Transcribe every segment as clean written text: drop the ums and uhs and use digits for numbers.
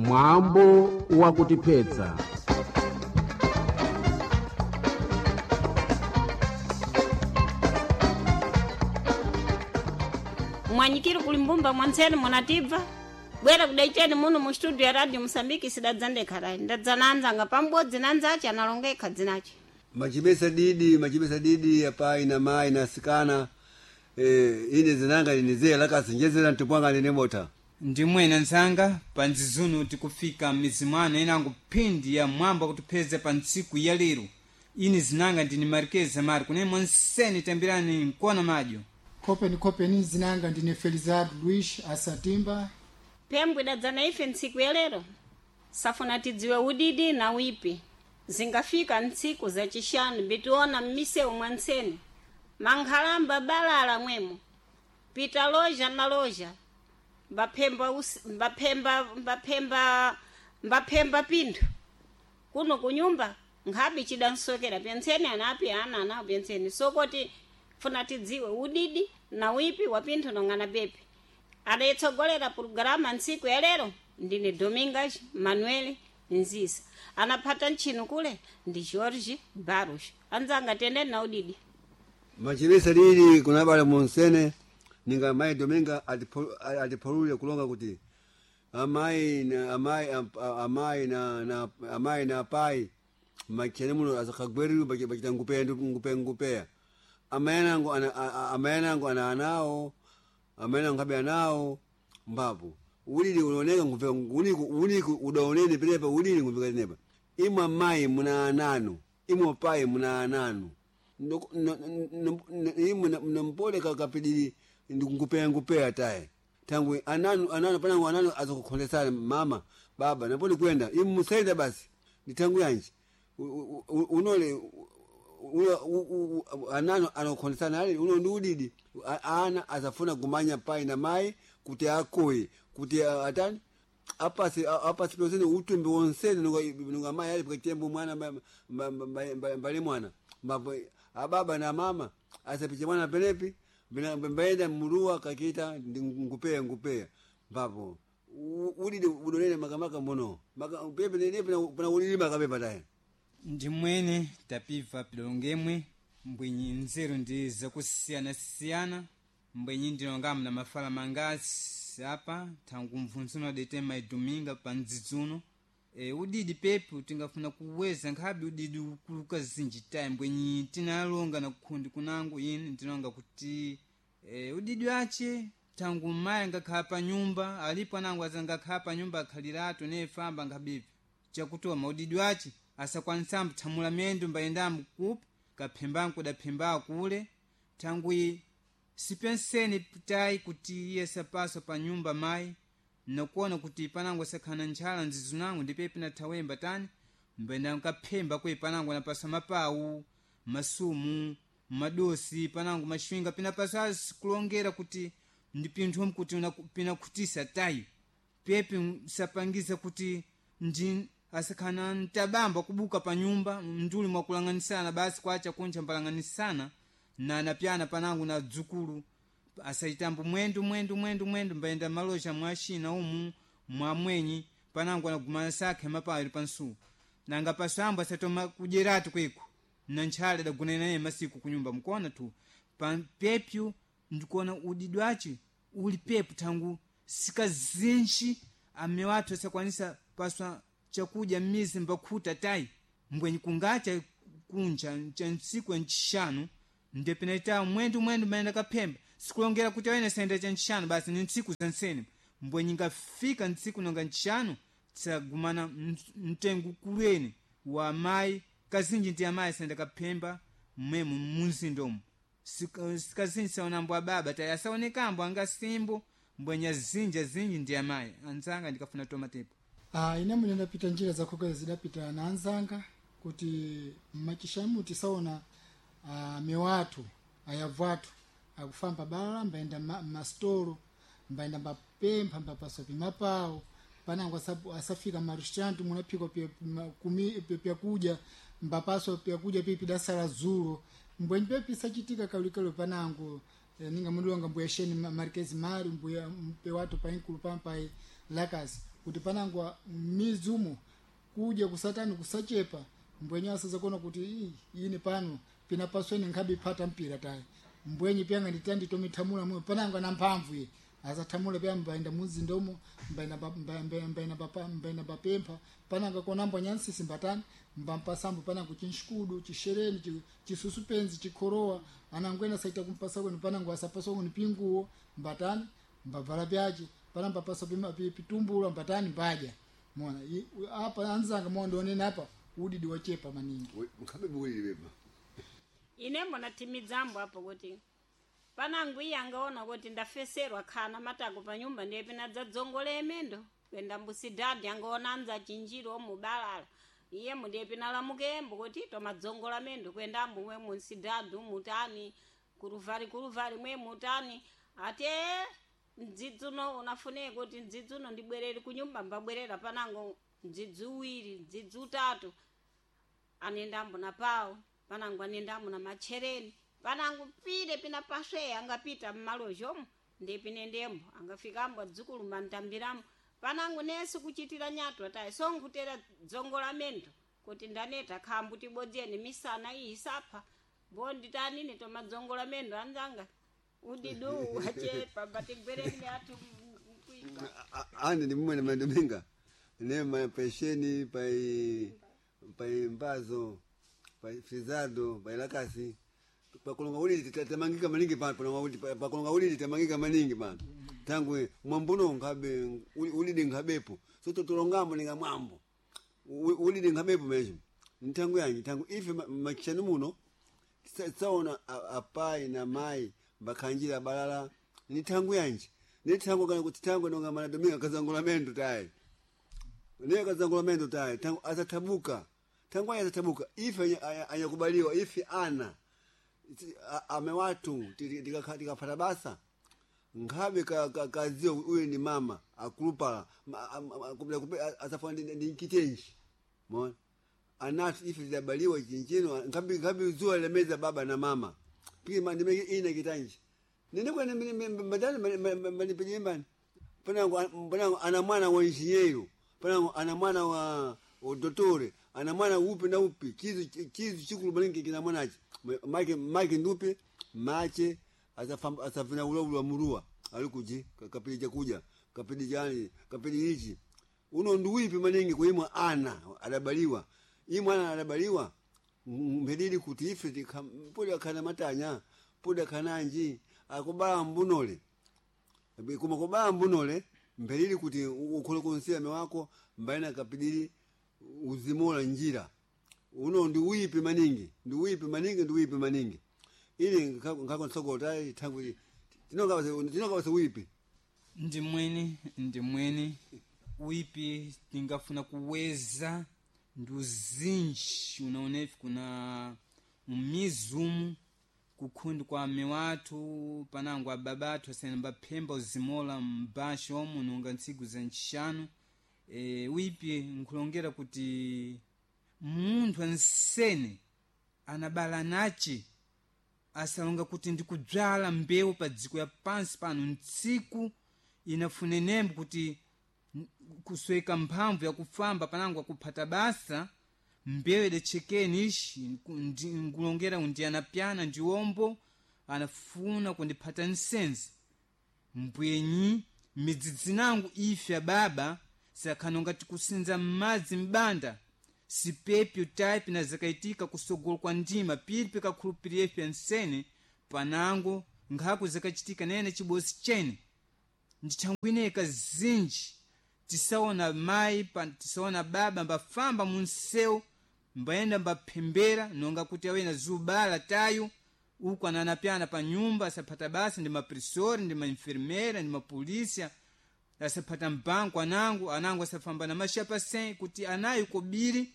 Mwambo wakutiphetsa. Mwanyikiri kuli mbumba mwantseni munatibva bwera kudaicheni muno mu studio ya Radio Mosambiki sidadzandekharai ndadzananzanga pambodzi nanzache analonga ekha dzinache. Machibesa didi, machibesa didi apai na mai na sikana. Ine zinanga ninizee lakasi njezera ntupwanga nine mota. Ndimwene nzanga panzizunu tikufika mizimwana inango phindi ya mwamba kutipheza pa ntsiku ya lero. Ini zinanga ndini Marquez Mari kune monseni tambirani nkona madyo. Kopeni kopeni zinanga ndine Felizardo Luis Asatimba. Pembwe dadzana ife ntsiku ya lero safuna tidziwe udidi na wipi zingafika ntsiku zacixanu bitiona mmisewu mwa ntseni mankhalamba balala mwemo pita loja na loja mbaphemba mbaphemba mbaphemba mbaphemba pinthu kuno kunyumba nkhabi cidansokera pyentseni anapi ana anawo pyentseni sokoti funa tidziwe udidi na wipi wa pinthu nong'ana pepi. Adayitsogolera pulogalamu ntsiku ya lero ndine Domingas Manuel Nzisa, anaphata ntchino kule ndi George Barros. Anzanga tendeni na udidi. Machibesa didi kunabala monsene ninga mai Dominga atipolule kulonga kuti amai na amai amai na na amai na pai machene muno azakagweru bachita ngupe ngupe ngupea. Amayanango ana amayanango ana anao amayanango kabe anao mbapo ulili unaoneka ngupe uniku uniku udaonene penepa ulili ngupe nepa imwe mai muna ananu imwe pai muna ananu imwe nampole kapidili ngupea ngupea taye tangu ananu ananu panangu ananu azokukhondesana mama baba napoli kwenda imwe musaida basi ni tangu yanji unole anano anakhondesana ali uno ndi udidi ana azafuna kumanya pai na mai kuti akoye kuti atani apasi apasi pesene utumbi wonsene nunga mai ali pakatembo mwana mbali mwana mbapo ababa na mama asapiche mwana penepi mbaenda murua kakita ngupea ngupea mbapo udidi udonene makamaka mbono maka pepe nepe pana udidi makapepa taye. Ndimwene tapibva pilongemwe mbwenyi nzeru ndi zakusiyana-siyana mbwenyi ndilongamu na mafala mangasi apa thangu mvunzuno adete maiduminga pa ndzidzuno. Udidi pepu tingafuna kuweza nkhabe udidi ukuluka zinji tayi mbwenyi tinalonga na kukhundi kunango ine ndilonga kuti udidi wace thangu mayi angakhala pa nyumba alipo anango azangakhala pa nyumba akhaliratu nefamba nkhabipi chakutoma udidi wace asakwanisambo thamula miyendo mbayendambo kupi kaphembanku kudaphemba kule thangwi sipenseni tayi kuti iye sapaso pa nyumba mayi nakuona kuti panango sakhana ntchala nzizunango ndipepe nathawemba tani mbayenda nkaphemba kwe panango napasa mapawu masumu madosi panango mashwinga pinapaso azikulongera kuti ndi pinthu kuti pinakhutisa tayi pepe sapangiza kuti ndi asakhana ntabamba kubuka pa nyumba mnduli mwakulang'anisana basi kwacha kuncha mpalang'anisana na napyana panango na dzukulu asaitambo mwendo mwendo mwendo mwendo mbayenda maloja mwa xina umu mwamwenyi panango anagumana sakhe mapayo pansu nanga pasambo asatoma kudyeratu kweku na ntchale adagona naye masiku kunyumba mkuona tu pepyu ndikuona udidwace uli pepu thangu sikazinji ame wathu asakwanisa paswa chakudya mmizi mbakhuta tayi mbwenyi kungacha kunja cha ntsiku ncixanu ndepinaita mwendo mwendo mayenda kaphemba sikulongera kuti awene sayenda cha ncixanu basi ni ntsiku za nsene mbwenyi ngafika ntsiku nonga ncixanu tsagumana mtengo kulweni wa mayi kazinji ndi amayi sayenda kaphemba mmwemo munzindomo sikazinji saonambo ababa tayi asaonekambo angasimbo mbwenyi azinji azinji ndi amayi anzanga ndikafuna tomatepo. Ine mwene ndapita njira zakhokera zidapita na anzanga kuti mmachishamu tisaona mewathu ayabvu athu akufamba balala mbayenda mastolo mbayenda mbapempha mbapaso pimapawo panango asafika marestaurant munaphikwa pyakudya mbapaso pyakudya pipi dasala zulo mbwenyi pepi sachitika kalikalo panango ninga mudilonga mbuya sheni Marquez Mari mbuya mpe watu painkulu pampai lakasi. Kuti panangwa mizumo kuja kusatani kusachepa mbwenye asaza kuona kuti "Ii, ini pano pinapasweni nkhabe phata mpira tayi mbwenye pyanga nditandi tomithamula mwe panangwa na mphamvu ye asathamula pya mbaenda muzinda umo mbaenda mbaenda mbaenda papempha pananga konambo nyansisi mbatani mbampasambo panango chinshikudu chishereni chisusupenzi chikhorowa anangwena saita kumpasa kwenu panango asapasa kwenu pinguwo mbatani mbavala pyache panamba pasa pitumbulwa mbatani mbadya mona apa anzanga mondionena apa udidi wachepa maningi Nkhabe buwiri beba. Ine mbona timidzambo apo kuti panangu iye angaona kuti ndafeserwa khana matako pa nyumba ndiye pinadzadzongola emendo kwenda mbusidhadhi angaona anza chinjiro omubalala iye mundiye pinalamukembo kuti tomadzongola mendo kwenda ambu mwe munsidhadhi umutani kuruvari kuruvari mwe mutani ate mdzidzi uno unafune kuti mdzidzi uno ndibwerere kunyumba mbabwerera panango mdzidzi uwiri mdzidzi utatu anendambo na pawo panangu anendambo na machereni panangu pile pina pasweya angapita mmalozhomo ndipinendembo angafikambo adzukulu mantambiramo panangu nesi kuchitira nyatwa tayi sonkutera dzongo la mendo kuti ndaneta khambu tibodzeni misana iyi isapha bonditanine tomadzongo la mendo anzanga udidu wachepa batigwereni athu mkuipa. Ane ndi mumwe mandominga ne mapesheni pai pai mbazo pai frizado pai lakasi pakulonga ulili tamangika maningi pano palonga ulili pakulonga ulili tamangika maningi pano tangu mwambuno nkhabe ulili nkhabepo so totolongamo ninga mwambo ulili nkhabepo mesho ntangu yanji tangu ife makishani muno tsaona apai na mai bakhanjira balala ni thangu yanji ni thangu kana kuti thangu nonga mana dominga kazangola mendo tayi ne kazangola mendo tayi thangu asathabuka thangu aya asathabuka ife anyakubaliwa ife ana ame watu tikafata basa nkhabe kaziwa uyu ni mama akulupala asafuna ndi nkitenji mona anatu ife tidabaliwa chinchino nkhabe nkhabe zuwa lemeza baba na mama piki ndimeke ina kitanji nene kwene mbadani manipenyembani panango panango ana mwana wa injinyeiro panango ana mwana wa dotore ana mwana upi na upi chizu chizu chikulu maningi kina mwanachi make make ndupe mache asafina ula murua alikuji kapili chakuja kapili jani kapili ichi uno nduwipi maningi kuimwa ana adabaliwa imwe ana adabaliwa mphedili kuti ife podi akhana matanya podi akhananji akubala mbunole kuma kubala mbunole mphedili kuti ukhole kunsiyame wako mbaina kapidili uzimola njira uno ndi uyipi maningi ndi uyipi maningi ndi uyipi maningi ili nkhako nsokota thangu tinongawase uyipi ndimwene ndimwene uipi tingafuna kuweza ndi uzinji unaonefi kuna umizumu kukhundi kwa ame wathu panango ababa athu asene mbaphemba uzimola mbasha omu nonga ntsiku za ntxixanu e, uipi nkhulongera kuti munthu ansene anabala nace asalonga kuti ndikudzala mbewu pa dziko ya pansi pano ntsiku inafunenembo kuti kusweka mphamvu yakufamba panango akuphata basa mbewu idachekeni ishi nkulongera ndi anapyana ndi ombo anafuna kundiphata nsenzi mbwenyi midzidzi nangu ife ababa sakhanonga tikusinza m'madzi m'banda sipepyo type na zakaitika kusogolo kwa ndima pili pikakhulupirira ife nsene panango nkhako zakachitika nene chibosi chene ndithangwineka zinji tisaona mayi tisaona baba mbafamba munsewu mbayenda mbaphembera nonga kuti awena zubala tayo uku ananapyana pa nyumba asaphata basa ndi mapresori ndi mainfermera ndi mapolisia asaphata mbanku anango anango asafamba na mashapa sen kuti anayo kobiri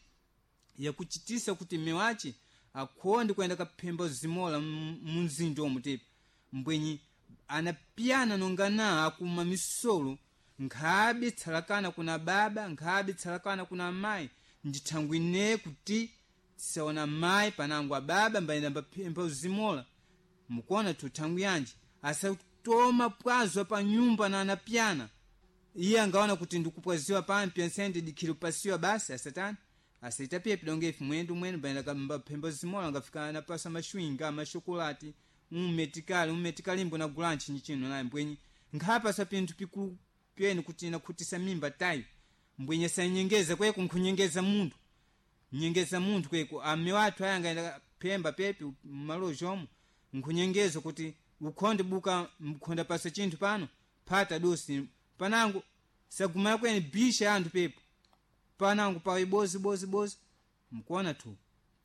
yakuchitisa kuti mmewache akhonde kuyenda kaphemba zimola munzinji omu tipa mbwenyi anapyana nonga na akuma misolo nkhabe tsalakana kuna baba nkhabe tsalakana kuna mayi ndithangwine kuti tisaona mayi panango ababa mbayenda mbaphemba uzimola mukuona tuthangwi yanji asatoma pwazo pa nyumba na anapyana Iye angaona kuti ndikupwaziwa pampi ansende dikhiri kupasiwa basi asatani asaita piye pidonge ife mwendo mwene baenda mbaphemba zimola angafika napasa mashwinga mashokolati ummetikali ummetikalimbo na gulanchi nyichino naye mbwenyi nkhapasa pinthu pikulu pyene kuti nakhutisa mimba tayi mbwenye sanyengeza kweko nkhunyengeza munthu nyengeza munthu kweko ame wathu aya angaenda phemba pepi mmaloji omwe nkhunyengeza kuti ukhonde buka mkhonda pasa chinthu pano phata dosi panango sagumana kwene bisha anthu pepo panango pawe bozi bozi bozi mkuona tu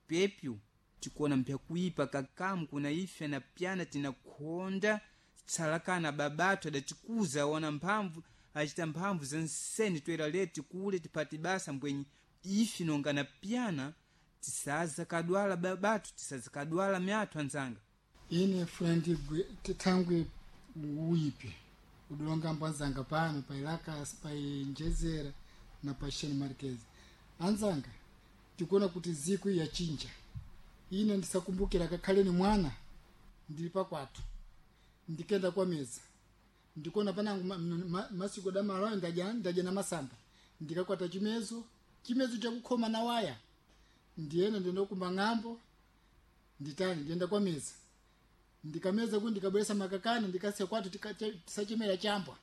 pepyu tikuona mpyakuipa kakamu kuna ife na pyana tinakhonda tsalakana babatu adatikuza ona mphamvu achita mphamvu za nseni toera leti kule tipati basa mbwenyi ife nonga na pyana tisaza kadwala babatu tisaza kadwala myathu anzanga. Ine friend tithangwe uyipi udulonga mbwanzanga pano pa Ilakas, pa Njezera na pa Sheni Marquez. Anzanga tikuona kuti ziku yachinja. Ine ndisakumbukira kakhale ni mwana ndili pakwathu ndikenda kwa meza ndikuona panangu masiku damalayo ndadya na masamba ndikakwata chimezo chimezo chakukhoma na waya ndiyena ndinokumba ng'ambo nditani ndiyenda kwa meza ndikameza kuti ndikabweresa makakani ndikasiya kwathu tisachemera chambwa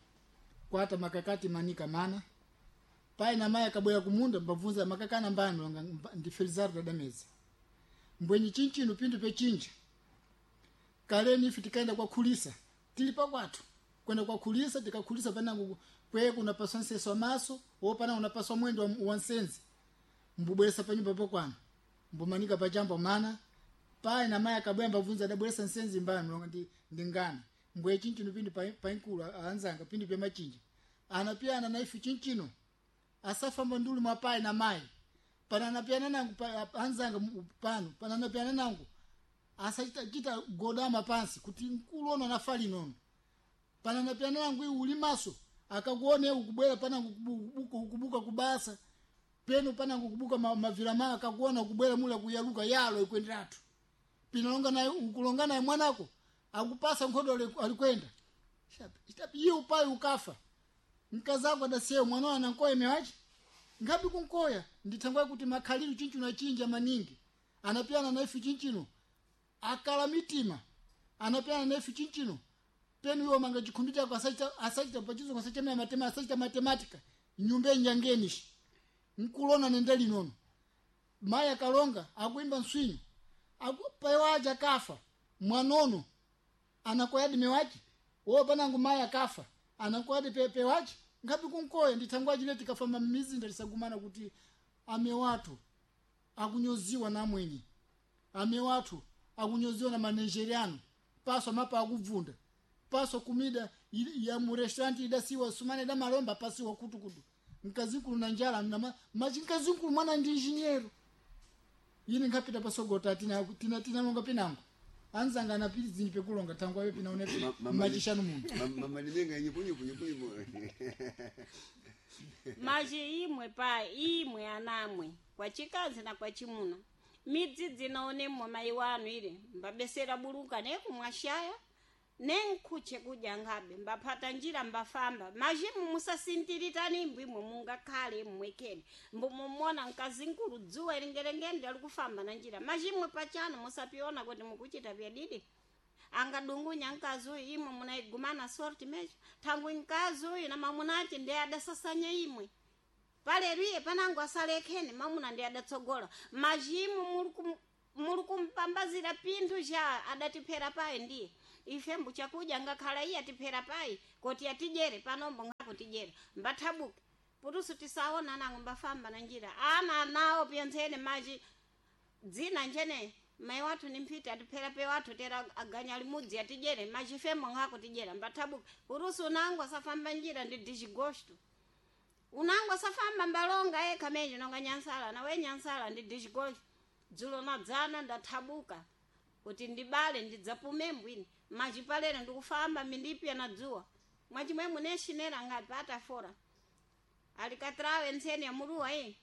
kwata makakati manika mana pai na mai akabwera kumunda mbabvunza makakana mbani longa ndi Felizardo dadameza mbwenyi chinchino pindu pechinja kaleni ife tikaenda kwa khulisa tili pakwathu kwenda kwa khulisa tikakhulisa panango kweko unapaswa nseso maso wopana unapaswa mwendo wa nsenzi mbubweresa panyumba pokwana mbumanika pachamba mana pai na mai akabwera mbabvunza adabweresa nsenzi mbani longa ndi ngana mbwe chinchino pindu painkulu anzanga pindu pemachinja anapiyana na ife chinchino asafamba nduli mwa pai na mai pananapiyana nangu anzanga pano pananapiyana nangu asachita chita godama pansi kuti mkulu ono anafa linono pananapiyana nangu iwe uli maso akakuone ukubwera panangu kubuka kubasa peno panangu kubuka mavira ma akakuona ukubwera mula kuyaluka yalo ikwenderatu pinalonga naye ukulonga naye mwanako akupasa nkhodo alikwenda iye upayi ukafa mkazako adasiye mwana anankoya mewachi ngapi kunkoya ndithangwa kuti makhalilu chinchino achinja maningi anapiyana na ife chinchino akala mitima anapiyana na ife chinchino penu iwo manga chikhumbi chako asachita pachizungu asachemera matema asachita matematika nyumba enjangenishi nkulona nenda linono mayi akalonga akuimba nswinyo payo akafa mwanono anakoyadi mewachi wo panangu mayi akafa anakoyadi pewachi ngapi kunkoya ndithangwa chile tikafamba mmizinda tisagumana kuti ame wathu akunyoziwa namwenye ame wathu akunyoziwa na manejeriano paso mapa akubvunda paso kumida ya mu restaurant idasiwa sumane da malomba pasiwa kutukutu mkazinkulu na njala na machi mkazinkulu mwana ndi engineer yini ngapita pasogota tina longa pinango anzanga anapiti zinyi pekulonga tangwa yo pina unepi machishanu muno mama limenga nyipu nyipu nyipu nyipu maji imwe pa imwe anamwe kwa chikazi na kwa chimuna midzi dzinaonemwa mayi wanu ile mbabesera buluka nekumwashaya nenkhuche kudya ngabe mbaphata njira mbafamba majimu musasintiritani imbwimwe mungakhale mmwekeni mbumumona mkazinkulu dzuwa ilingelengeni alikufamba na njira majimwe pachano musapiona kuti mukuchita vyadidi angadungunya mkazi uyu imwe munaigumana sorti mecho thangwi mkazi uyu na mamunati ndiye adasasanya imwe paleriye panango asalekheni mamuna ndiye adatsogola majimu muli kumpambazira pinthu cha adatiphera payi ndiye ife mbuchakudya ngakhala iye atiphera payi koti atijere panombo ngakutijere mbathabuke putusu tisaona nango mbafamba na njira ana nawo pyentsene maji dzina njene mai wathu ni mphiti atiphera pe wathu tera aganya limudzi atijere machifemo ngakutijera mbathabuke putusu unango asafamba njira ndi dichigosto unango asafamba mbalonga yekha menje nonga nyansala nawe nyansala ndi dichigosto dzulo nadzana ndathabuka kuti ndibale ndidzapume mbwini machipalere ndikufamba mindipya na dzuwa mwachimwe muneshinera ngati patafora alikatrawe ntseni ya muruwa iyi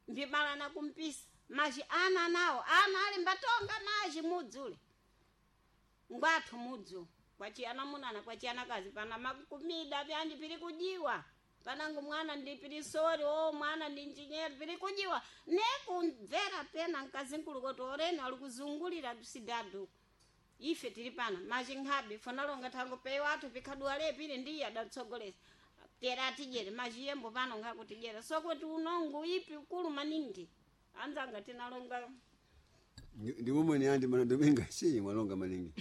mbibala na kumpisa maji ana nawo ana ali mbatonga maji mudzule ngwathu mudzu kwachiyana munana kwachiyana kazi pana makumida vyandi pili kujiwa. Panango mwana ndi pirisori o mwana ndi injinyeri piri kujiwa nekumvera pena mkazinkulu kuti oreno ali kuzungulira sidadu ife tili pano machinkhabe fonalonga thango peyo athu pikhaduwale pili ndiye adatsogoleza tera atijere machiyembo pano nkakutijera sokuti unongo ipi ukulu maningi anzanga tinalonga. Ndi mumwe andi mana Dominga si mwalonga maningi.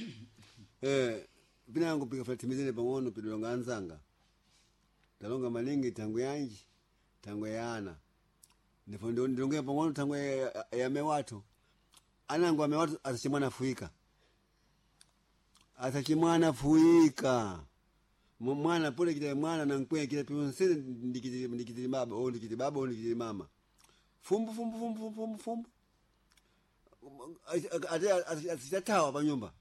Pinango pikafatimizene pang'ono pidolonga anzanga talonga maningi tangu yanji tangu ya ana ndipo ndilongea pang'ono tangu ya mewatu anangu amewatu asachimwana fuika asachimwana fuika mwana pole kita mwana nankwe kita pionsene ndikitili ndikitili baba o ndikitili baba o ndikitili mama fumbu fumbu fumbu fumbu fumbu fumbu ate asitatawa pa nyumba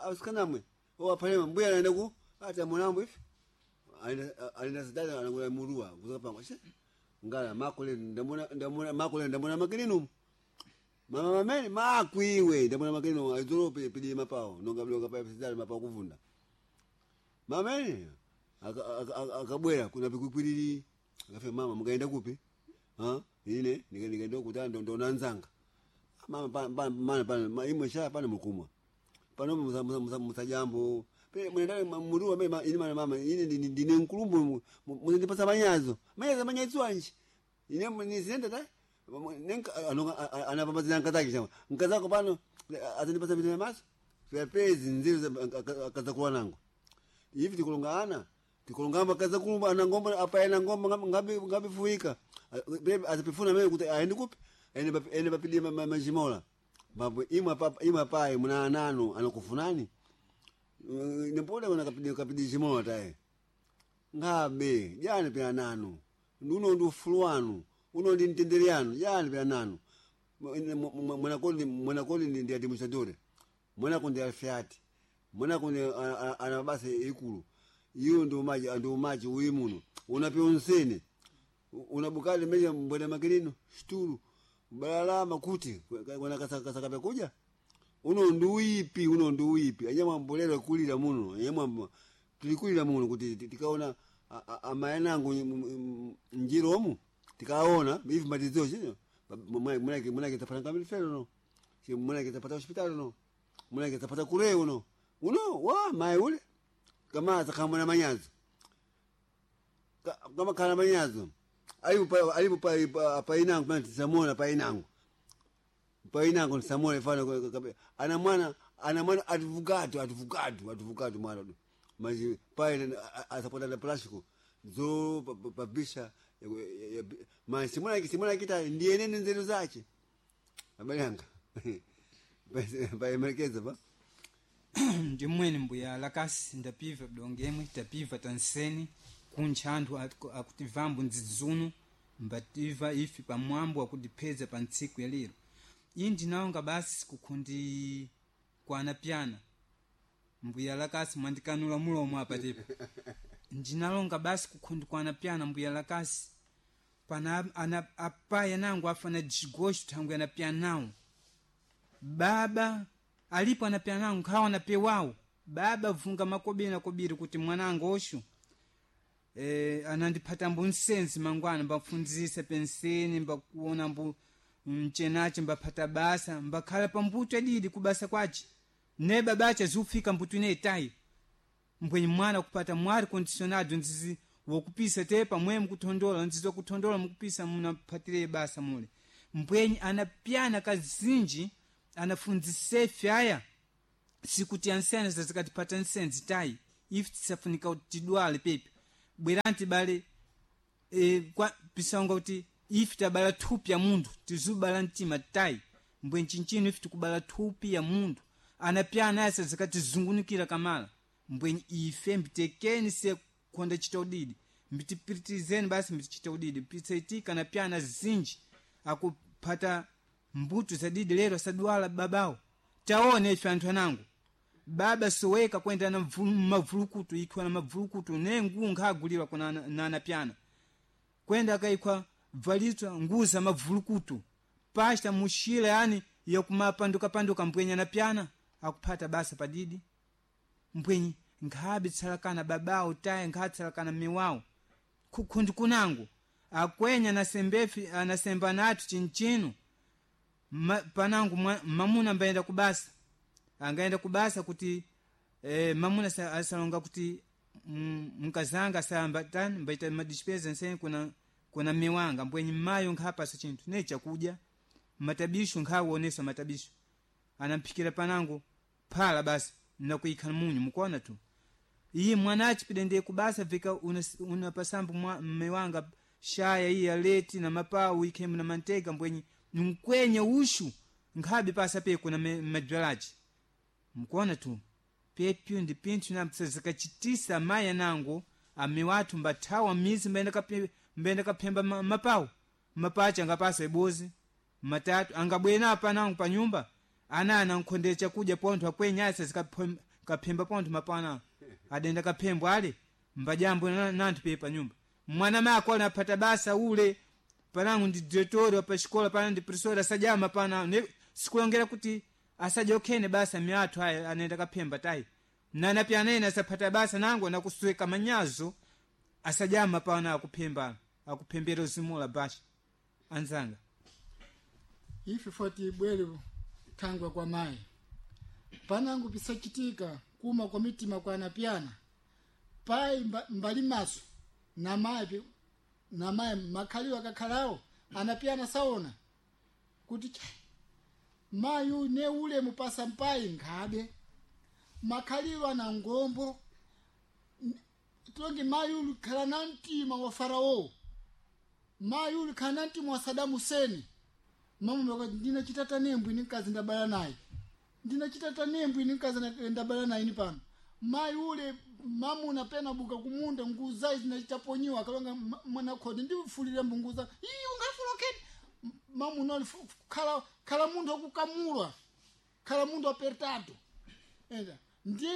asikanamwe owapalema mbuya anaenda ku ati amonambo ife alina sidada anakula murua kuzoka pangwa she ngala makole ndamona ndamona makole ndamona makelinu mama mamene makwiwe ndamona makelinu aizolo pili mapao nonga blonga pa sidada mapao kuvunda mamene akabwera kuna pikukwilili akafika mama mukaenda kupi ha ine nikaenda kutanda ndo nanzanga mama pa pa mana pa imwe sha pana mukumwa pano musa musa musa musa jambo pe mwenendale muruwa me ine mana mama ine ndine nkulumbu muzindipasa manyazo manyazo manyazo anji ine nizinenda ta nenka anonga anapambazina nkazake chama nkazako pano azindipasa vitu maso fyapezi nziru akazakuwa nango ivi tikulonga ana tikulongamba kaza kulumba ana ngomba apa ena ngomba ngabi ngabi fuika azipifuna mimi kuti aende kupi ene bapidi majimola babu imwe papa imwe pai muna ananu anakufunani nipole wana kapidi kapidi jimola tae ngabe jani pia nanu uno ndi ufulu wanu uno ndi mtendere yanu jani pia nanu mwanakoli mwanakoli ndi administratore mwanako ndi alfiati mwanako ndi ana basi ikulu iyo ndi umaji ndi umaji uyi muno unapyonsene unabukali meja mbwena makelino shtulu balalama kuti wana kasaka kuja uno ndi uyipi uno ndi uyipi anyamwa mbolero kulira muno anyamwa tulikulira muno kuti tikaona amayanangu njiromu tikaona ivi matizo chino munake munake tapata kamili felo no munake tapata hospitali no munake tapata kureo no uno wa mai ule kama atakamona manyazo kama kana manyazo alipo alipo pa painangu pana tisamona painangu painangu tisamona ifana ana mwana ana mwana advogado advogado advogado mwana do mas pai asapota na plástico zo pabisha mas simona simona kita ndiye nene nzeru zache abale yanga paemerekeza pa ndimwene mbuya lakasi ndapiva bdongemwe tapiva tanseni kuntcha anthu akutivambo ndzidzuno mbativa ife pamwambo akutipheza pa ntsiku ya lero iyi ndinawonga basi kukhundi kwanapyana mbuya lakasi mwandikanula mulomo apa tepa ndinalonga basi kukhundi kwanapyana mbuya lakasi pana ana apaya nangu afana jigoxo thangwe anapyanawo baba alipo anapyanawo nkhawa anapewawo baba vunga makobiri na kobiri kuti mwanangu oxo anandiphata mbu nsenzi mangwana mbafundzisa penseni mbakuona mbu mchenache mbaphata basa mbakhala pambuto adidi kubasa kwace ne babache azufika mbuto ine itayi mbwenye mwana kupata mwari condicionado nzizi wokupisa te pamwe mukuthondola nzizi wakuthondola mukupisa munaphatire basa mule mbwenye anapyana kazinji anafundzise fyaya sikuti ansene zazikatipata nsenzi tayi ife tisafunika kuti tidwale pepi bwerani tibale kwa pisonga kuti ife tabala thupi ya munthu tizubala mtima tayi mbwe nchinchino ife tikubala thupi ya munthu anapyana asa zikatizungunikira kamala mbwe ife mbitekeni se kukhonda chita udidi mbitipiritizeni basi mbitichita udidi pisaitika anapyana zinji akuphata mbuto zadidi lero asadwala babawo taone ife anthu anangu baba soweka kwenda na mavulukutu ikhwa na mavulukutu ne nguwu nkhagulirwa kuna na anapyana kwenda akaikhwa bvalitwa nguza mavulukutu pasta muxila yani yakumapandukapanduka mbwenye anapyana akuphata basa padidi mbwenye nkhabe tsalakana babawo taye nkhabe tsalakana mmiwawo. Khundi kunango akwenya anasembefi anasemba nathu chinchino. Panango mamuna ambayenda kubasa, angaenda kubasa kuti mamuna asalonga kuti mkazanga asamba tani mbaita madispesa nsene kuna miwanga mbwenyi mmayo nkhapasa chinthu ne chakudya matabisho nkhawoonesa matabisho anamphikira panango phala basi nakuikha munyu mukuona tu. Iye mwanachi pidende kubasa vika unapasambu mmiwanga shaya iye aleti na mapawu ikhemu na mantega mbwenyi nkwenye ushu nkhabe pasa pe kuna madzwalachi mukuona tu. Pepyo ndi pinthu napsazikachitisa amayi anango amiwathu mbathawa mizi mbayenda kaphemba mapawu mapachi angapasa ibozi matatu angabwera panango pa nyumba ana ankhondera chakudya pontho akwenyasa zikaphemba pontho mapawu anango adenda kaphembo ale mbajambo nanthu pe pa nyumba mwana mako anaphata basa ule panango ndi diretori wa pa xikola pana ndi professor asajama pana sikulongera kuti asaja okhene basa miathu aya anaenda kaphemba tayi nana pya anene asaphata basa nango nakusweka manyazo asajama pana akuphemba akuphembera uzimula basha anzanga. Ife foti bwere thangwa kwa mayi panango pisachitika kuma kwa mitima kwa anapyana pai mbali maso na mayi na mayi makhaliwa akakhalawo anapyana saona kuti mayi ne ule mupasa mpayi nkhabe makhaliwa na ngombo tongi mayi uli khala na mtima wa farao, mayi uli khala na mtima wa Saddam Hussein. Mama wakati ndinachita tanembwe ni mkazi ndabala naye, ndinachita tanembwe ni mkazi ndabala naye ni pano mayi ule mamuna pena buka kumunda nguza zinachitaponyiwa akalonga mwana khodi ndifulire mbunguza iyi ungafula khedi mamuna khala khala munthu akukamulwa khala munthu apertado enda ndi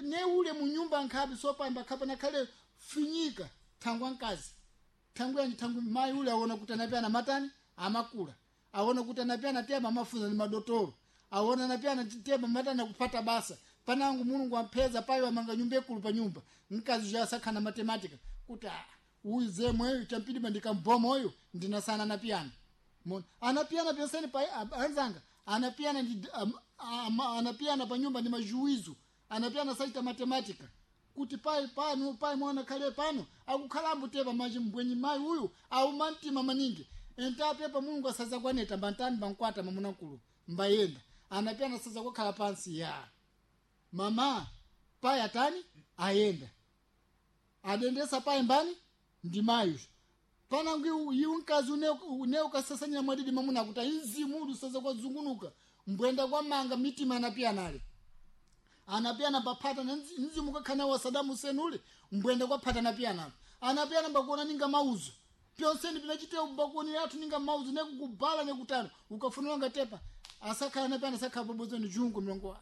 ne ule munyumba nkhabe sopamba khapa nakhale finyika thangwa mkazi thangwa yanji thangwi mayi ule aona kuti anapyana matani amakula aona kuti anapyana tema amafunza ndi madotolo aona anapyana tema matani akupata basa panangu mulungu ampheza payo amanga nyumba ikulu pa nyumba mkazi uja asakhana matematika kuti uyu zemweyo champidima ndikamboma uyu ndinasana anapiyana mona anapiyana penseni pa anzanga anapiyana ndi anapiyana pa nyumba ndi majuwizo anapiyana sachita matematika kuti pai pano pai mwana khale pano akukhalambo tepa maji mbwenyi mayi uyu auma mtima maningi entapepa mulungu asaza kwaneta mbantani mbankwata mamunakulu mbayenda anapiyana saza kukhala pansi ya mama pai atani ayenda adendesa pai mbani ndi mayi panangu iwu mkazi une ukasasanyira mwadidi mamuna kuti inzimu uli usaza kwazungunuka mbwenda kwa manga mitima anapiyanale anapiyana paphata na mzimu kakhana wa Saddam Hussein ule mbwenda kwa phata anapiyanalo anapiyana mbakuona ninga mauzo pyonseni pinachitewa mbakuonera athu ninga mauzo nekukubala nekutano ukafunira ngatepa asakhala anapiyana asakhala pabodzi ni jungu mlongo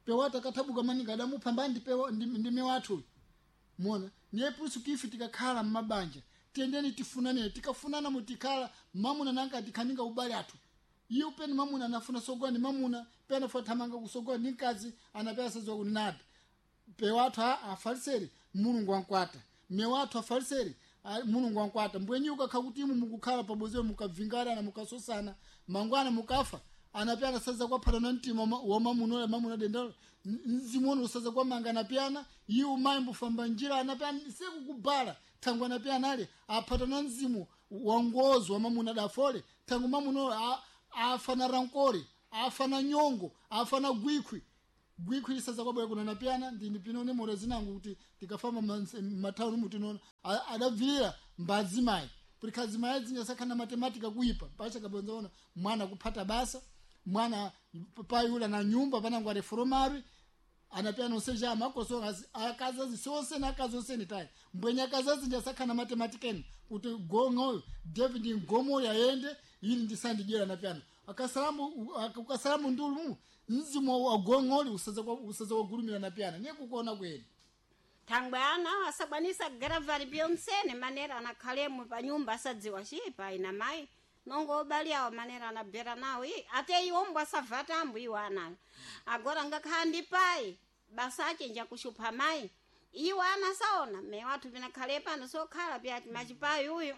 pewata kathabuka maninga adamupha mbandi pewa ndime wathu mona niye pusu kifi tikakhala mmabanja tiyendeni tifunane tikafunana mutikhala mamuna nanga tikhaninga ubale athu iye upeni mamuna anafuna sogola ni mamuna pena funa thamanga kusogola ni mkazi anapea sazowa kuti nada pewathu afaliseri mulungu wankwata mewathu afaliseri mulungu wankwata mbwenyi ukakha kuti imu mukukhala pabodzi mukavingana mukasosana mangwana mukafa anapyana saza kwaphata na mtima wa mamuna ule mamuna dendalo mzimu usaza kwamanga anapyana iwo mayi mbufamba njira anapyana sekukubala thangu anapyana ale aphata na mzimu wa ngozo wa mamuna dafole thangu mamuna afa na rankore afa na nyongo afa na gwikhwi gwikhwi lisaza kwabwera kuna napyana ndini pinone mora zinangu kuti tikafamba matawuni mutinona adabvirira mbadzimayi purikhazimayi zinyasakhana matematika kuipa pacha kabonzaona mwana kuphata basa mwana payula na nyumba panangu areforomari anapyana oseja amakoso akazazi sose na akazi oseni tayi mbwenye akazazi ndiasakhana matematikeni kuti gong'oyo david ngomo yaende ili ndisandidyera anapyana akasalamu ukasalamu ndulu mzimu wa gong'oli usaza wagulumira napyana niye kukuona kwene thangwe ana asakwanisa kugara pyonsene manera anakhalemo pa nyumba asadziwa cipa ina mayi nongo obali awo manera anabvera nawo i ate iwo asavatambo iwo anayo agora ngakhala ndi payi basa achenja kuxupha mayi. Iwo ana saona me wathu pinakhale pano sokhala pyati machipayi uyu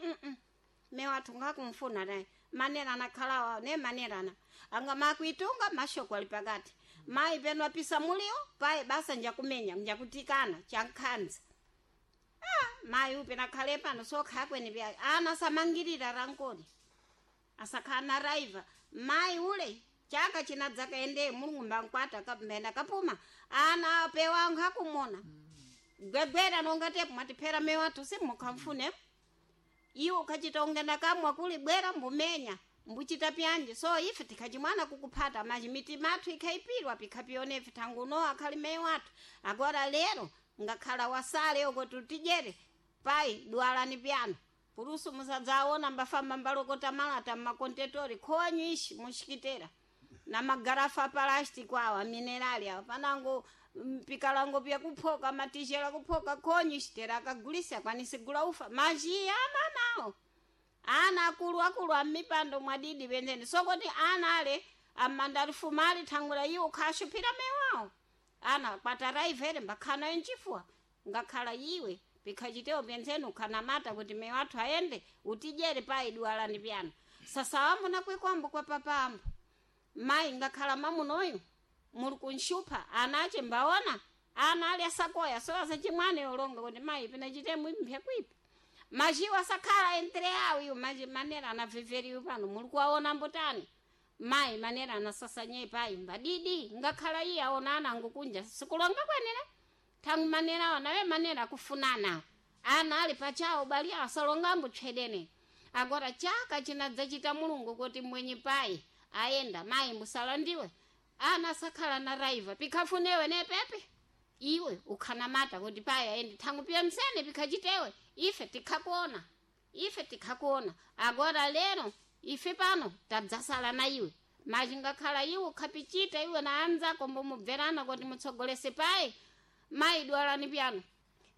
me wathu ngakumfuna naye manera anakhalawa ne manerana anga makuitunga mashoko ali pakati mayi peno apisa mulio payi basa njakumenya njakutikana chankhanza. Ah, mayi upi nakhale pano sokhala kweni pya ana samangirira rankoni asakhala na raiva mayi ule chaka chinadzaka ende mulungu mbankwata kapmena kapuma ana apewa akumona gwegwera nongatepo mwatiphera mewathu simukhamfune iwo ukhachita ungenda kamwa kuli bwera mbumenya mbuchita pyanje. So ife tikhachimwana kukuphata maji mitima athu ikhaipirwa pikhapionefe thanguno akhali meyo athu. Agora lero ngakhala wasale okoti utijere pai dualani pyano purusu musadzaona mbafamba mbalokota malata mmakontetori khonyu ishi muxikitera na magarafa a plastic awa minerali awa panango pikalango pyakuphoka matixela kuphoka khonyu ixitera akagulisa akwanise gula ufa majiya ana nawo ana akulu akulu amipando mwadidi pendene sokoti ana ale amandalifumali thangwera iwo khashuphira mewawo ana kwataraivere mbakhana enchifuwa ngakhala iwe pikhachitewo penzeni ukhanamata kuti mewathu aende utijere pai dualani pyano. Sasa wambo nakwekwambo kwa papambo mayi ngakhala mamunoyu muli kunxupha ana ache mbaona ana ali asakoya so asachimwane olonga kuti mayi pinachitemu impya kwipi majiwo asakhala entre awo iwo maji manera anaveveriwe pano muli kuwaona mbotani mayi manera anasasanye payi mbadidi ngakhala iye aona ana angukunja sikulonga kwenera thangu manera awo nawe manera akufunana ana ali pachawo bali asalongambo tchedene. Agora chaka chinadzachita mulungu kuti mwenye payi ayenda mayi musalandiwe ana asakhala na raiva pikhafunewe nepepe iwe ukhanamata kuti payi aende thangu piya msene pikhachitewe ife tikhakuona ife tikhakuona. Agora lero ife pano tadzasala na iwe maji ngakhala iwe ukhapichita iwe na anzako mbomubverana kuti mutsogolese payi mayi dwalani pyano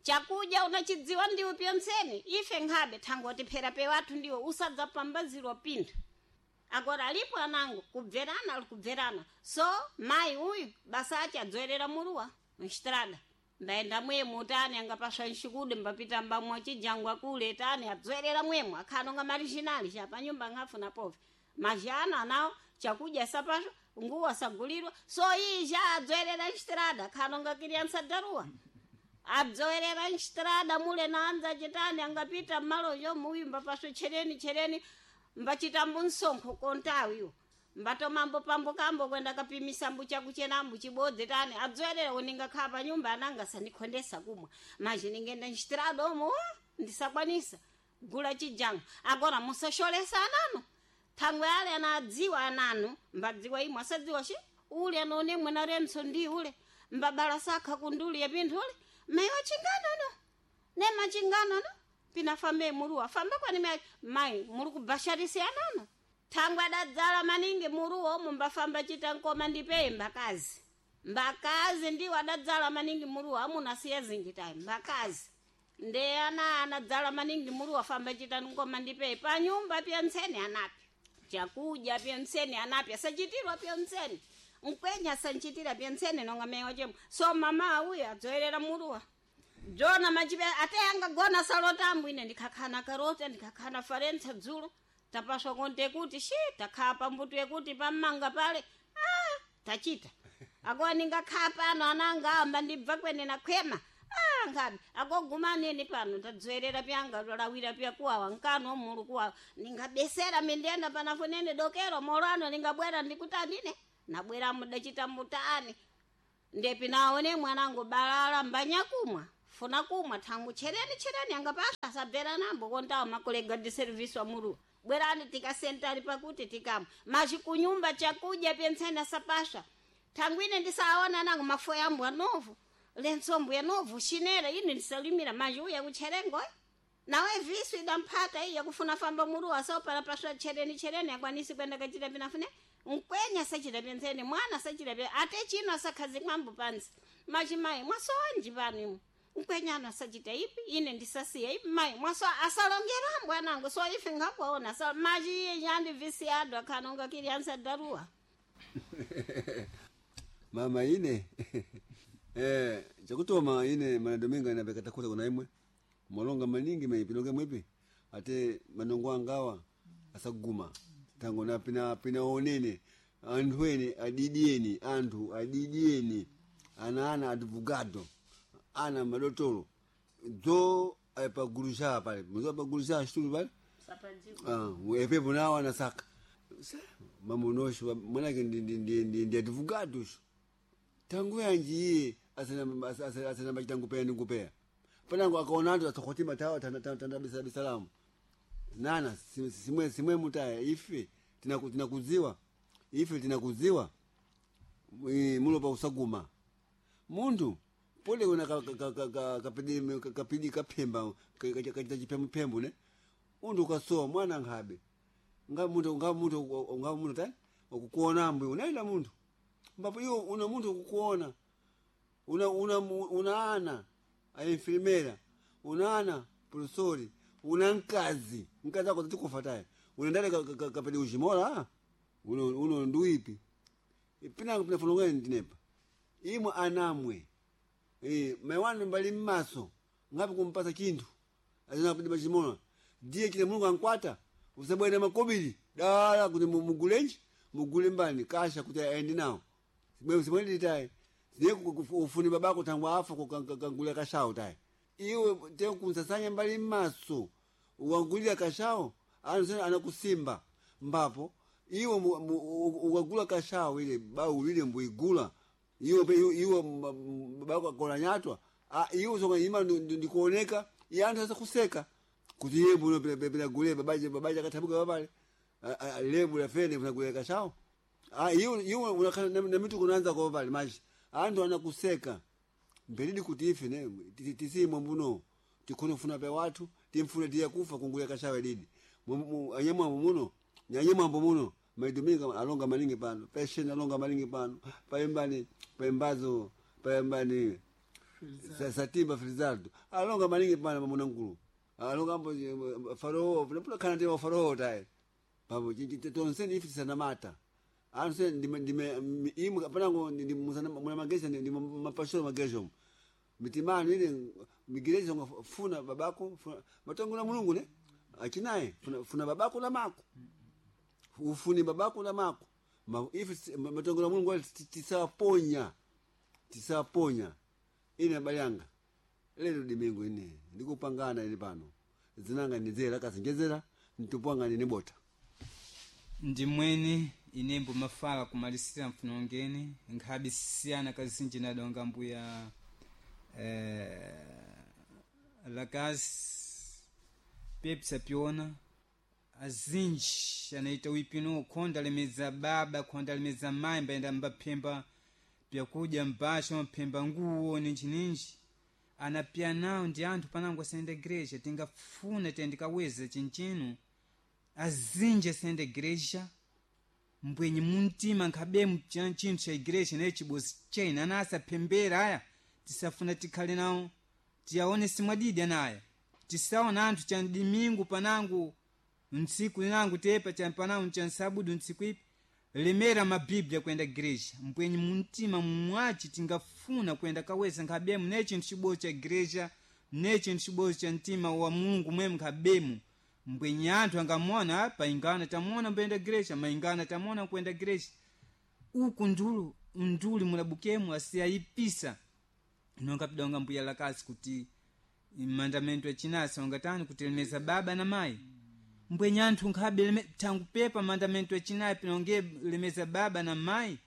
chakudya unachidziwa ndiwe pyonsene ife nkhabe thangoti phera pewathu ndiwe usadzapambazirwa pinthu. Agora alipo anango kubverana ali kubverana. So mayi uyu basa ache adzoerera muruwa mxitrada mbaenda mwemu tani angapaswa nxikude mbapita mbamwa chijangwa kule tani adzoerera mwemu akhano nga marijinali chapanyumba nkhafuna pove majana anawo chakudya sapaswa nguwo asagulirwa. So iyi ja adzoerera nxitrada akhano nga kiriansa daruwa adzoerera nxitrada mule naanza chitani angapita mmalojo muyu mbapaswa chereni chereni mbachitambo msonkho kontawiwo mbatomambo pambo kwenda kapimisa mbuchakuchenambu chibodzi tani adzoerera uningakhala pa nyumba ananga sandikhondesa kumwa maji ningenda nxitirado omo ndisakwanisa gula chijanga. Agora musasholesa ananu thangwe ale anadziwa ananu mbadziwa imwe asadziwa shi ule anaone mwena renso ndi ule mbabala sakha kunduli yapinthu ule meyo chingano no nema chingano no pinafambe muruwa famba kwani mayi muri kubhasharisi anano thangwe adadzala maningi muruwa omo mbafamba chita nkoma ndipeye mbakazi mbakazi ndiwo adadzala maningi muruwa amuna siya zinji tayi mbakazi nde ana anadzala maningi muruwa famba chita nkoma ndipeye panyumba pya ntsene anapi chakudya pya ntsene anapi asachitirwa pya ntsene mkwenya asanchitira pya ntsene nonga mewa chemo. So mama uyo adzoerera muruwa jona machipe ate angagona salotambo ine ndikhakhana karota ndikhakhana farensa dzulo tapaswa konte kuti shi takhala pambuto yekuti pammanga pale ah, tachita akowa ningakhala pano ananga amba ndibva kwene nakhwema ah, ngabi akoguma nini pano tadzoerera pyanga lawira pyakuwawa nkano mulu kuwawa ningabesera mindiyenda panafunene dokero molano ningabwera ndikutanine nabwera mudachita mbutani ndepi naone mwanangu balala mbanyakumwa funa kumwa thangu chereni chereni angapasha asabvera nambo kontawo makolega di service wa muru bwerani tikasentari pakuti tikamwa machi kunyumba chakudya pentseni asapasha thangu ine ndisaona nangu mafoya ambu anovu lensombu yanovu xinera ine ndisalimira machi uya kucherengo nawe visu idamphata iya kufuna famba muru asopala paswa chereni chereni akwanisi kwenda kachita pinafune mkwenya sachita pentseni mwana sachita pe ate chino asakhazi mwambo pansi machi mayi mwasowanji pano imwe mkwenyana asachita ipi ine ndisasiya ipi mayi mwaso asalongerambo anango so ife ngakuona so machi iye yandi visi adu akhanonga kiri ansa daruwa. Mama ine Chakutoma ine mana dominga inapekatakuta kuna imwe malonga maningi meipinoke mwipi ate manongo angawa asaguma tango na pina pina onene anthu ene adidieni anthu adidieni ana ana advogado ana madotolo dzo apagulusha pale mzo apagulusha shitulu pale. Sapadziwa. Ah, epepo nawo anasaka mamunosho mwanake ndi advogado tangu yanji iye asana machitangupeya ndingupeya panango akaona anthu asakhotima tawa tandabisalamu nana simwe simwe mutaya ife tinakudziwa ife tinakudziwa mulopa usaguma munthu pole kuna kapidi kaphemba kachita chiphembuphembu ne munthu ukasowa mwana nkhabe nga munthu nga munthu nga munthu tani ukukuona mbuyo unaenda munthu mbapo iwo una munthu ukukuona una una una ana a enfermera una ana professori una mkazi mkazi ako tikufa taye unendale kapedi uchimola uno uno nduipi pina pina fulongeni ndinepa imwe anamwe maiwanu mbali mmaso ngapi kumpasa chinthu azina kupedi pachimola ndiye chine mulungu ankwata usabwene makobiri dala kuti mugulenji mugule mbani kasha kuti aende nawo simwe simwe tayi siye ufuni babako tangu afa kangulira kashawo tayi iwe te kunsasanya mbali mmaso uwangulira kashawo anu anakusimba mbapo iwe ukagula kashawo ile bau lile mbuigula iwe iwe babako akola nyatwa iwe songa ima ndikuoneka iye anthu asakuseka kuti iye mbuno pena gule babaje babaje akathabuka babale lebu la fene kuna gule kashawo iwe iwe unakhala na mitu kunaanza kwa babale maji anthu anakuseka mbelidi kuti ife ne tisimwe mbuno tikhone kufuna pe wathu timfune tiye kufa kungulira kashawe didi anyamwambo muno nyanyamwambo muno maitumika alonga maningi pano pesheni alonga maningi pano paimbani paimbazo paimbani satimba felizardo alonga maningi pano pamuna nkulu alonga ambo farao pula khana ndi farao tayi papo tonseni ife tisanamata anthu se ndime imwe panango muna magesha ndi mapasholo magesho mitimano ile migerezo nga funa babako funa matongo na mulungu ne achinaye funa, funa babako na mako ufuni babako na mako ma, ife matongo na mulungu ali tisaponya tisaponya ine abale yanga lero dimingo ine ndikupangana ine pano zinanga ndizera kasinjezera mtupwanga nini bota ndimwene inembo mafala kumalisira mfunongeni nkhabi siyana kazinji nadonga mbuya lakazi pepsa piona azinji anaita wipino khonda lemeza baba khonda lemeza mayi mbayenda mbaphemba pyakudya mbasha maphemba nguwo ninjininji anapya nawo ndi anthu panango asayenda igreja tingafuna tiyandikaweza chinchino azinji asayenda igreja mbwenye muntima nkhabemu chinthu cha igreja naye chibozi chena ana asaphembera aya tisafuna tikhale nawo tiyaone simwadidi anaya tisaona anthu cha dimingu panangu ntsiku linangu tepa cha panangu cha nsabudu ntsiku ipi lemera mabiblia kuyenda igreja mbwenye muntima mwaci tingafuna kuyenda kaweza nkhabemu ne chinthu chibozi cha igreja ne chinthu chibozi cha mtima wa mulungu mwemu nkhabemu mbwenye anthu angamona paingana tamona mbuyenda igreja maingana tamona kuyenda igreja uku ndulu nduli mulabukemu asiyayipisa nonga pidonga mbuya lakasi kuti mandamento achinasi wangatani kutelemeza baba na mayi mbwenye anthu nkhabe tangu pepa mandamento achinayi pinonge lemeza baba na mayi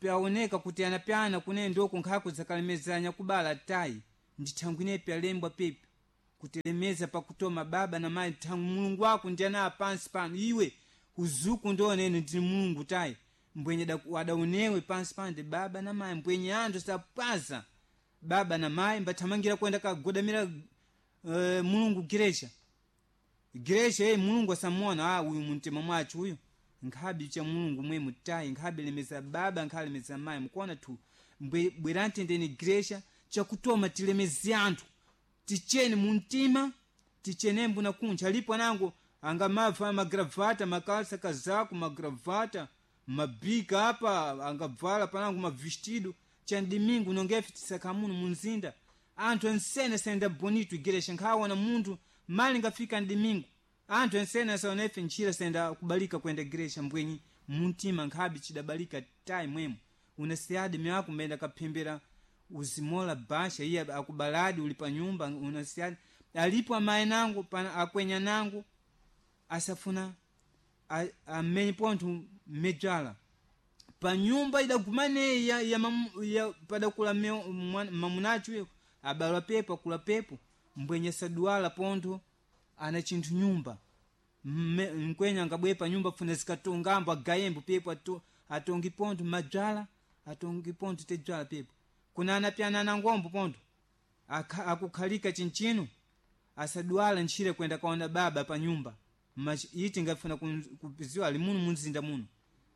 paoneka kuti anapyana kune ndoko nkhako zakalemezanya kubala tayi ndi thangu inepi alembwa pepi kutelemeza pakutoma baba na mayi thangu mulungu wako ndi ana pansi pano iwe uzuku ndionene ndi mulungu tayi mbwenye adaonewe pansi pano ndi baba na mayi mbwenye anthu sapaza baba na mayi mbathamangira kuyenda kagodamira mulungu gereja gereja eyi mulungu asamuona uyu mumtima mwacho uyu nkhabi cha mulungu mwe mutayi nkhabi lemeza baba nkhabi lemeza mayi mukuona tu bwerantendeni gereja chakutoma tilemeze anthu tichene mumtima tichene mbuna kunja alipo anango angamava magravata makalsa kazako magravata mabika apa angabvala panango mavestido Cha dimingu nongefe tisakamuno munzinda anthu ensene sayenda bonito igereja nkhawona munthu mali ngafika ndimingu anthu ensene asaonefe ntchira sayenda kubalika kuyenda igereja mbwenyi muntima nkhabe chidabalika tayi mwemo unasiyadi myako mbenda kaphembera uzimola basha iye akubaladi uli pa nyumba unasiyadi alipo amayi nangu pana akwenya nangu asafuna amenye pontho mmedzala pa nyumba idagumaneyi ya padakula mamunacho abalwa pepo akula pepo mbwenye saduwala pontho ana chinthu nyumba mkwenya angabwe pa nyumba funa zikatongambo agayembo pepo atongi pontho madzala atongi pontho tedzala pepo kuna anapyana na ngombo pontho akukhalika chinchino asadwala ntchire kwenda kaona baba pa nyumba iti ngafuna kupiziwa ali muno munzinda muno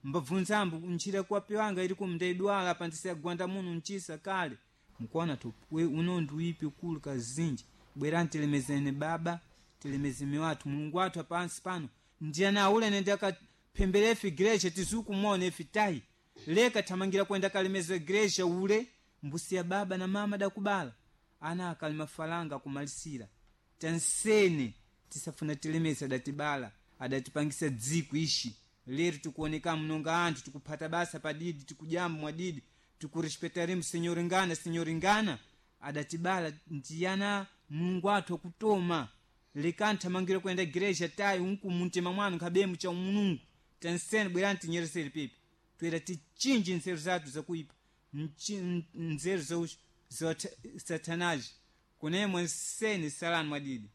mbabvunzambo ntchire kwapiwanga ili kumndaidwala pandisagwanda muno nchisa kale mkuona tu uno ndiuipi ukulu kazinji bwerani tilemezene baba tilemezeme wathu mulungu wathu apansi pano ndiyana aulene ndi akaphemberefe igreja tizukumona ife tayi leka thamangira kwenda kalemeza igreja ule mbusiya baba na mama dakubala ana akali mafalanga akumalisira tansene tisafuna tilemesa adatibala adatipangisa dziko ishi lero tikuoneka mnonga anthu tikuphata basa padidi tikujamba mwadidi tikurespetaremo senyoringana senyoringana adatibala ndiyana mulungu athu akutoma lekani thamangira kuyenda igreja tayi unku muntima mwanu nkhabemu cha mulungu tansene bwerani tinyeresere pipi toera tichinji nzeru zathu zakuipa nzeru za satanaji kunemwe nseni salani mwadidi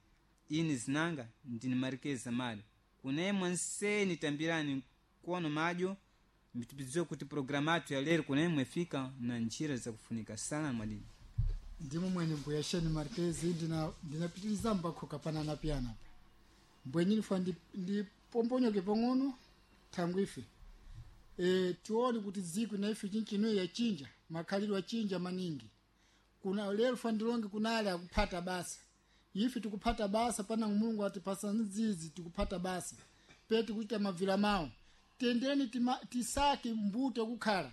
ini zinanga ndini marikeza mali kunemwe nseni tambirani kono madyo mbitipidziwe kuti programu athu ya lero kunemwe fika na njira zakufunika salani mwadidi ndimo mwene mbuya sheni markezi ndinapitiliza mbakhoka panana piyana pa mbwenyi ndifa ndipomponyoke pang'ono thangwi ife tione kuti dziko na ife chinchino yachinja makhalidwe achinja maningi kuna lero fa ndilonge kunali akuphata basa ife tikuphata basa pana mulungu atipasa nzizi tikuphata basa pe tikuchita mavila mawo tendeni tisake mbuto kukhala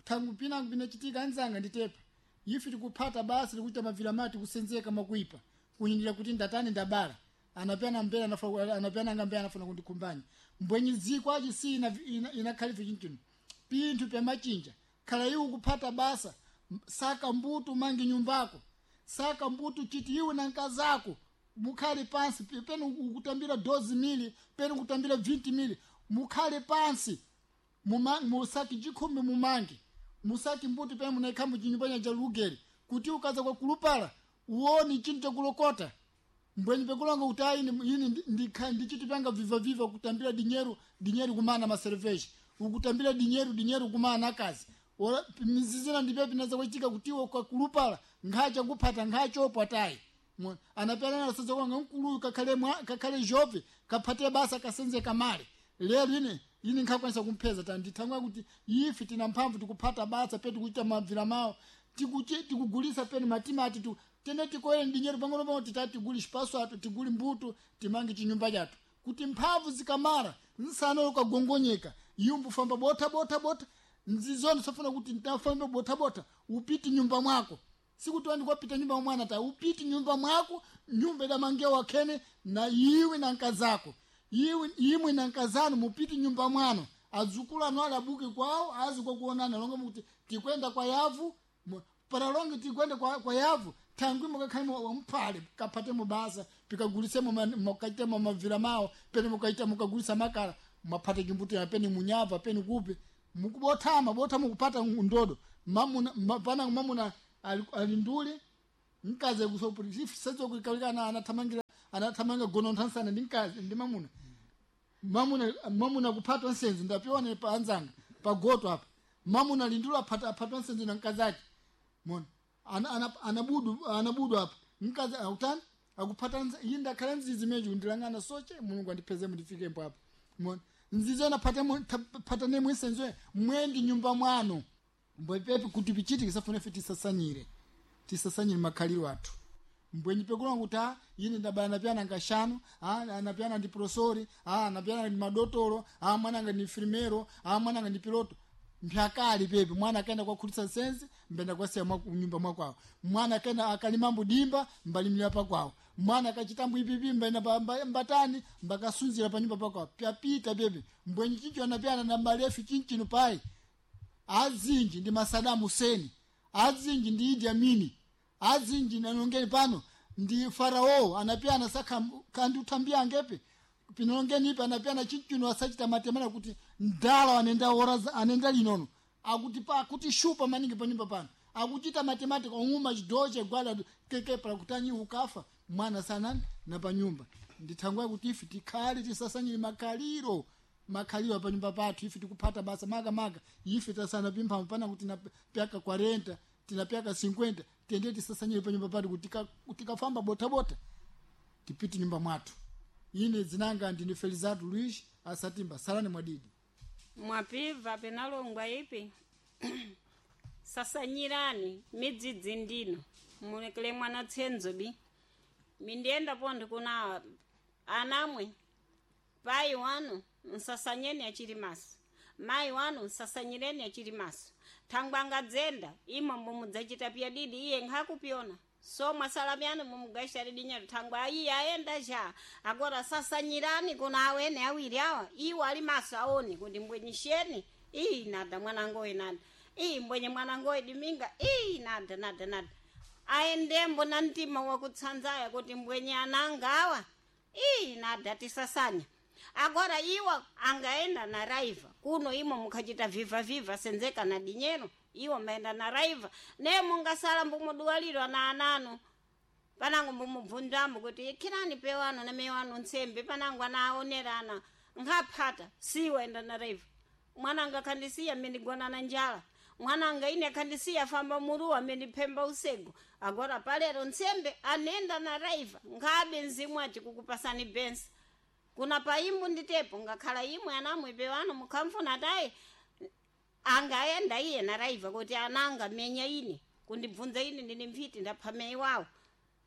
thangu pinango pinachitika anzanga nditepa ife tikuphata basa tikuchita mavila mawo tikusenzeka makuipa kunyindira kuti ndatani ndabala anapyana mbele anapyana ngambele anafuna kundikhumbanya mbwenyi dziko achi si inakhalife chinchino pinthu pyamachinja khala iwe kuphata basa saka mbuto mangi nyumbako saka mbuto chiti iwe na nkazako mukhale pansi pene ukutambira dozi mili pene ukutambira 20 mili mukhale pansi musaki chikhumbi mumange musaki mbuto pene munaikhambo chinyumba cha lugeri kuti ukaza kwa kulupala uone chinthu chakulokota mbwenyi pekulonga kuti ayi ini ndichiti panga vivaviva kutambira dinyeru dinyeru kumana maserveji ukutambira dinyeru dinyeru kumana akazi mizizina ndipe pinaza kuchitika kuti iwe ukakulupala nkhacha kuphata nkhachopo atayi anapyalana asaza kwanga mkuluyu kakhale kakhale jove kaphate basa kasenze kamale lero ine nkhakwanisa kumpheza tandithangwa kuti ife tina mphamvu tikuphata basa pe tikuchita mabvira mawo tikugulisa pene matimati tene tikoyere ndinyero pang'ono pang'ono titati tiguli xipaso athu tiguli mbuto timange chinyumba chathu kuti mphamvu zikamara nsana ukagongonyeka yumbu famba botha botha botha nzizoni sofuna kuti ntafambe botha botha upiti nyumba mwako sikuti wandi kwapita nyumba mwana ta upiti nyumba mwako nyumba idamangewa wakhene na iwe na nkazako iwe imwe na nkazanu mupiti nyumba mwano adzukulu anu ali abuke kwawo azi kwakuonana longa mukuti tikwenda kwa yavu paralonge tikwenda kwa yavu thangwi mukakhale mphale kaphate mubasa pikagulisemo mukaitemo mavira mawo pene mukaita mukagulisa makala mwaphate chimbuto pene munyava pene kupi mukubothama botha mukupata ndodo mamuna pana mamuna ali ndule mkazi kusopurisezokuikalikana anathamangira anathamanga gononthansana ndi mkazi ndi mamuna mamuna mamuna kuphatwa nsenzi ndapiona pa anzanga pagoto apa mamuna lindulo aphata aphatwa nsenzi na mkazi ake mona anabudu anabudu apa mkazi akutani akuphata iyi ndakhala nzizi meji ndilangana soche mulungu andipeze mundifike apa mona nzizi anaphatane phatane nsenzi mwendi nyumba mwano mbwepepe kuti pichitike safuna ife tisasanyire tisasanyire makhaliro athu mbwenyi pekulonga kuti a ine ndabala napyana ngashanu a anapyana ndi prosori a anapyana ndi madotolo a mwananga ndi infirmero a mwananga ndi piloto Mpyakali pepe mwana akaenda kwakhulitsa nsenzi mbenda kwasiya nyumba mwakwawo. Mwana akaenda akalimambo dimba mbalimira pakwawo. Mwana akachitambo ipipi mbaenda mbatani mbakasunzira pa nyumba pakwawo. Pyapita pepe mbwenyi chincho anapyana na malefu chinchino pai azinji ndi masadamu Hussein, azinji ndi Idi Amini, azinji nanongeni pano ndi farao anapyana saka kandi utambia angepe pinongeni ipa anapyana chinchino asachita matemera kuti ndala anenda ora anenda linono akuti pa akuti shupa maningi panyumba pano akuchita mathematics ong'uma chidoche gwada keke pala kutanyi ukafa mwana sanani na panyumba. Ndithangwa kuti ife tikhale tisasanyire makhaliro makhaliro panyumba pathu ife tikuphata basa maka maka ife tasana pimphamvu pana kuti tinapyaka 40 tinapyaka 50 tende tisasanyire panyumba pathu kuti tikafamba bota bota tipite nyumba mwathu. Ine dzinanga ndine Felizardo Luiz Asatimba. Salani mwadidi. Mwapiva penalongwa ipi sasanyirani midzidzi ndino mulekele mwana tsenzo bi mindiyenda pontho kuna anamwe pai wanu nsasanyeni achili maso, mayi wanu nsasanyireni achili maso. Thangwa angadzenda imwe mumudzachita pyadidi iye nkhakupyona so mwasalamyani mumugashita lidinyero thangwa iye ayenda cha agora sasanyirani kuna awene awiri awa iwo ali maso aone kuti mbwenyisheni iyi nada mwanangoye nada iyi mbwenye mwanangoye diminga iyi nada nada nada aendembo na mtima wakutsanzaya kuti mbwenye ananga awa iyi nada tisasanya. Agora iwo angaenda na raiva kuno imo mukhachita viva viva senzeka na dinyero iwo maenda na raiva ne mungasala mbumuduwalirwa na ananu panango mbumubvunzambo kuti ikhirani pewano na mewano ntsembe panango anaonerana nkaphata siwo enda na raiva. Mwananga khandisiya mmendigona na njala, mwananga ine khandisiya famba muruwa mmendiphemba usego. Agora palero ntsembe anenda na raiva nkhabe mzimu aci kukupasani bensa kuna paimbu nditepo ngakhala imwe anamwe pewano mukhamfuna tayi angaenda iye na raiva kuti ananga menya ine kundibvunza ine ndine mphiti ndapha meyi wawo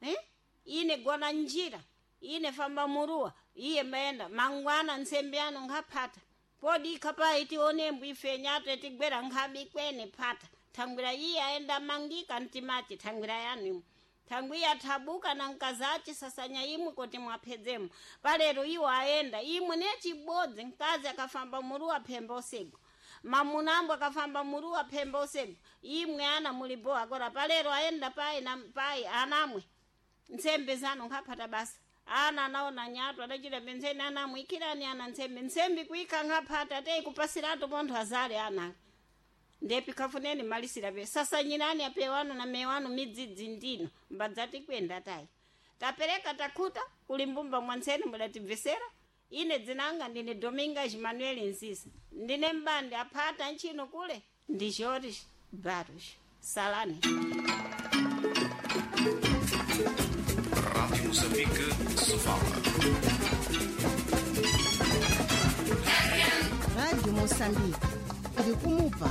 eh? Ine gona njira ine famba muruwa iye maenda mangwana ntsembe ano nkaphata podi ikhapayi tionembo ife nyatwe tigwera nkhabi kwene phata thangwira iye aenda mangika mtimachi thangwira yanu imwe thangwi iye athabuka na mkazi sasanya imwe kuti mwaphedzemo palero iwo aenda imwe nechibodzi mkazi akafamba muruwa phemba usego mamunambo akafamba muruwa phemba usego imwe ana mulibo agora palero aenda pai na pai anamwe ntsembe zanu nkaphata basa ana anaona nyatu adachita penzeni anamwe ikhirani ana ntsembe ntsembe kuikha nkaphata tei kupasiratu pontho azale ana ndepi kafuneni malisira pe sasanyirani apewano na mewano midzidzi ndino mbadzati kwenda tayi tapereka takhuta kuli mbumba mwantseni mudatibvesera. Ine dzinanga ndine Domingas Manuel Nzisa ndine mbandi aphata ntchino kule ndi Jorge Barros. Salani. Rádio Moçambique, Sofala. Rádio Moçambique, iri kumupa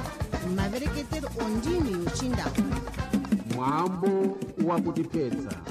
mavereketero ondimi yochindau. Mwambo wakutiphetsa.